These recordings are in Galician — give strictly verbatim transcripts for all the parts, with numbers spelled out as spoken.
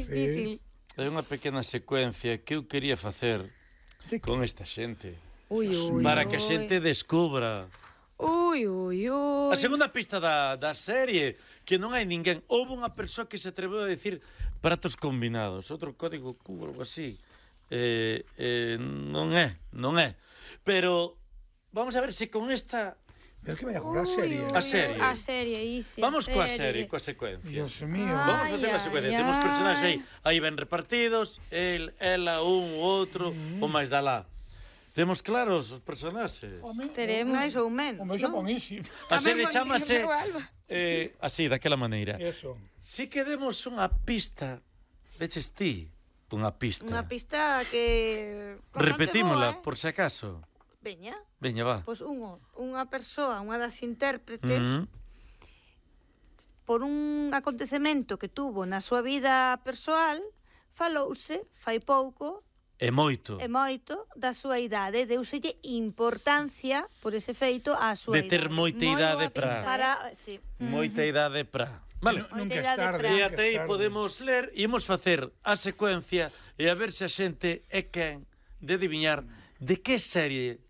difícil. Hai unha pequena secuencia que eu quería facer con esta xente. Ui, ui, para ui. que a xente descubra. Ui, ui, ui. A segunda pista da, da serie, que non hai ninguén. Houve unha persoa que se atreveu a decir pratos combinados, outro código cubo, algo así. Eh, eh, non é, non é. Pero vamos a ver se con esta... Pero que vai a jugar a serie? A serie. A serie, isi. Vamos coa serie, coa secuencia. Dios mío. Vamos a facer a Ai, secuencia. ai, Temos ai. personaxes aí, aí ben repartidos, el, ela, un, outro, Mm. o máis da lá. Temos claros os personaxes. Teremos. Máis ou menos. O meu xa pon isi. A serie chamase Igual. eh, así, daquela maneira. Eso. Si que demos unha pista, veches ti, unha pista. Unha pista que... Repetímola, boa, eh? por si acaso. Veña. Veña, va. Pois unha, unha persoa, unha das intérpretes, Mm. por un acontecemento que tuvo na súa vida persoal, falouse, fai pouco, E moito. e moito, da súa idade. Deuselle importancia, por ese feito, á súa De ter idade. moita Moi idade boa pra. pista. Para, sí. Moita idade pra. Vale. Nunca Moita é idade tarde. pra- E nunca até é aí tarde. podemos ler e imos facer a secuencia e a ver se a xente é quen de adiviñar de que serie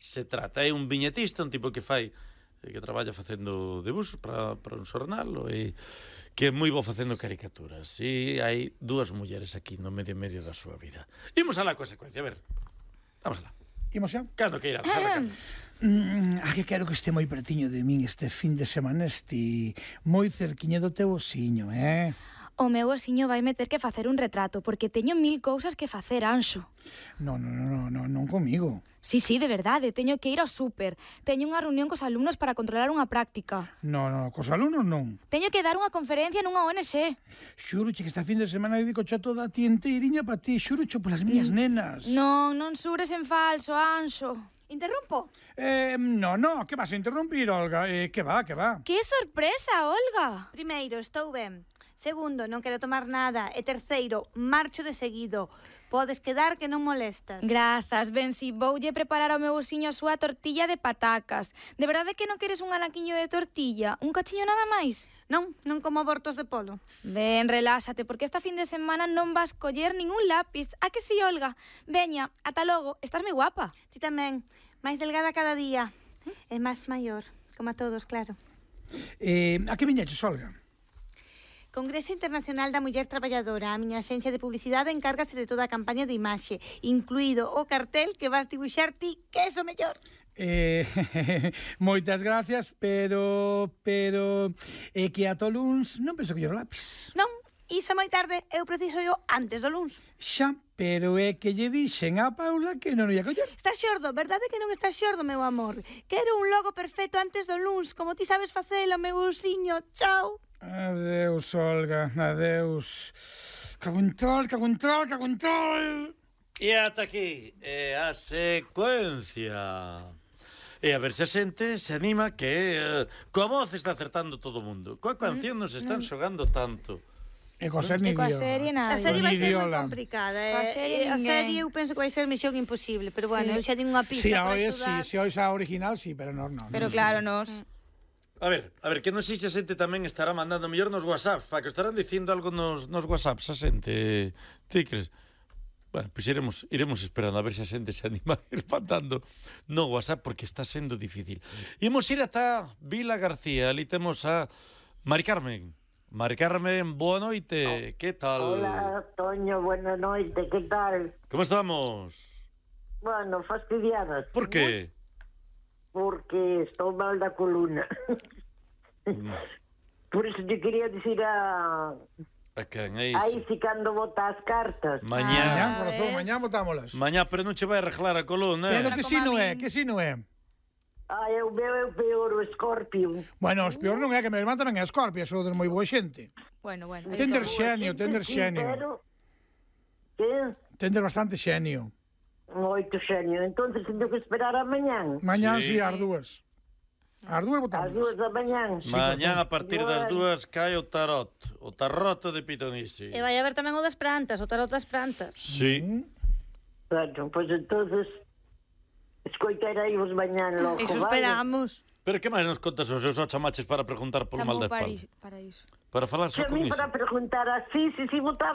se trata. É un viñetista, un tipo que fai que traballa facendo debuxos para, para un xornal e que é moi bo facendo caricaturas. E hai dúas mulleres aquí no medio medio da súa vida. Imos alá coa secuencia, a ver. Vamos alá. Imos xa? Cando que irá, sabe cando. Mm, a que quero que este moi pertiño de min este fin de semana, este moi cerquiña do teu osiño, eh? O meu osiño vai meter que facer un retrato, porque teño mil cousas que facer, Anxo. Non, non, non, non, non comigo. Sí, sí, de verdade, teño que ir ao súper. Teño unha reunión cos alumnos para controlar unha práctica. Non, non, cos alumnos non. Teño que dar unha conferencia nunha O N G. Xuroche que esta fin de semana dedico xa toda a ti enteiriña pa ti, xuroche polas miñas nenas. Non, non sures en falso, Anxo. Interrompo? Eh, no, no, que vas a interrumpir, Olga? Eh, que va, que va? Que sorpresa, Olga. Primeiro, estou ben. Segundo, non quero tomar nada. E terceiro, marcho de seguido. Podes quedar que non molestas. Grazas, ben, si voulle preparar ao meu osiño a súa tortilla de patacas. De verdade que non queres un anaquiño de tortilla? Un cachiño nada máis? Non, non como abortos de polo. Ben, reláxate, porque esta fin de semana non vas coller ningún lápiz. A que si, Olga? Veña, ata logo, estás moi guapa. Ti tamén, máis delgada cada día. E máis maior, como a todos, claro. Eh, a que viñeches, Olga? Congreso Internacional da Muller Traballadora. A miña axencia de publicidade encárgase de toda a campaña de imaxe, incluído o cartel que vas dibuixar ti, que é o mellor. Eh, moitas gracias, pero pero é eh, que ata o luns non penso coller o lápiz. Non, iso é moi tarde, eu preciso yo antes do luns. Xa, pero é que lle dixen a Paula que non o ia coller. Estás xordo, verdade que non estás xordo, meu amor? Quero un logo perfecto antes do luns, como ti sabes facelo, meu ursiño. Chao. Adeus, Olga, adeus. Cago en tal, cago en tal, cago en tal. E ata aquí é a secuencia. E a ver se a xente se anima que eh, coa voz está acertando todo o mundo. Coa canción nos están xogando tanto. E coa ser E ni coa Dios. serie A nada. serie vai ser moi Idiola. complicada. A Eh? serie a ninguén. serie eu penso que vai ser misión imposible, pero bueno, eu Sí. xa tengo unha pista Si a para hoy sí, axudar. si hoy a original sí, pero no, no. Pero no. claro, nos... A ver, a ver, que non sei se a xente tamén estará mandando mellor nos WhatsApps, para que estarán dicindo algo nos, nos WhatsApps a xente. Ti crees? Bueno, pois pues iremos, iremos esperando a ver se a xente se anima a ir mandando no WhatsApp, porque está sendo difícil. Imos ir ata Vila García, ali temos a Mari Carmen. Mari Carmen, boa noite, que tal? Hola, Toño, buena noite, que tal? Como estamos? Bueno, fastidiadas. Por que? Porque estou mal da coluna. Por iso te quería dicir a... A quen, é Aí iso? si cando bota as cartas. Mañá. Mañá, Ah, corazón, ves? mañá botámolas. Mañá, pero non che vai arreglar a coluna, Pero eh? que como si a non é, min. que si non é. Ai, o meu é o peor, o Scorpio. Bueno, os peor non é que meu irmán tamén é Scorpio, sou de moi boa xente. Bueno, bueno. Tender aí xenio, tender Sí, xenio. pero... Que? Tender bastante xenio. Moito xenio. Entonces tenho que esperar a mañán. Mañán Sí. si ás dúas. Ás dúas Ás botamos. dúas da mañán. Mañán a partir das Bueno. dúas cae o tarot, o tarroto de Pitonisi. E vai haber tamén o das plantas, o tarot das plantas. Sí. Bueno, pois pues entonces escoitarei vos mañán logo, Eso vale? esperamos. Pero que máis nos contas os seus ocho chamaches para preguntar polo mal Chamou de para espalda? iso, para iso. Para falar só Que a con mí iso. para preguntar así, si si votaba